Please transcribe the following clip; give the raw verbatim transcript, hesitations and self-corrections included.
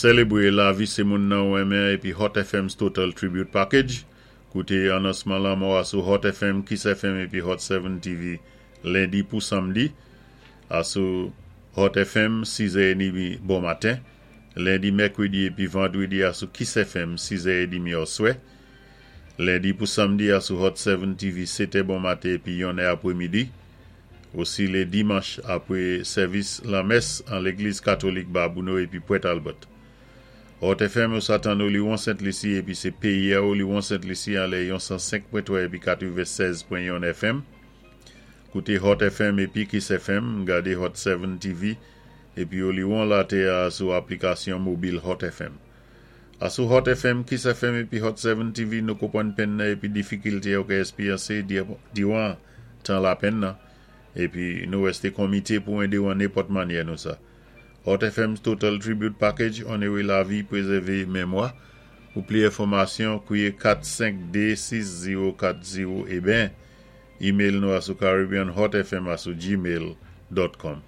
Sélébwé lavi sé moun nan ou renmen épi Hot F M's Total Tribute Package. Kouté anonsman lanmò a sou Hot F M, Kiss F M épi Hot sept T V lendi pou samdi. Asou Hot F M sis è edmi bon maten. Lendi, mèkwédi épi vandwédi asou Kiss F M sis è edmi oswè. Lendi pou samdi asou Hot sept T V sèt è bon maten épi yon è apwémidi. Osi lé dimanch apwé sèvis lamès an légliz katolik Babouno épi Port Albert. Hot F M ou sa tann Oliwon Sent Lisi épi sé péyi a Oliwon Sent Lisi an lè yon san senk pwen twa épi katwennsèz pwen yon F M. Kouté Hot F M épi Kiss F M, gadé Hot sept T V épi Oliwon latè a sou aplikasyon mobil Hot F M. Asou Hot F M, Kiss F M épi Hot sept T V nou konpwann penn nan épi difikilte yo ka éksperyensé diwan tan lapenn nan épi nou wésté komité pou édé ou an nenpòt mannyè nou sa. Hot F M Total Tribute Package, onoré lavi, pwézèvé mémwa. Pou plis enfòmasyon, kwiyé kat senk de sis zewo kat zewo é ben, email nou asou caribbeanhotfm asou gmail dot com.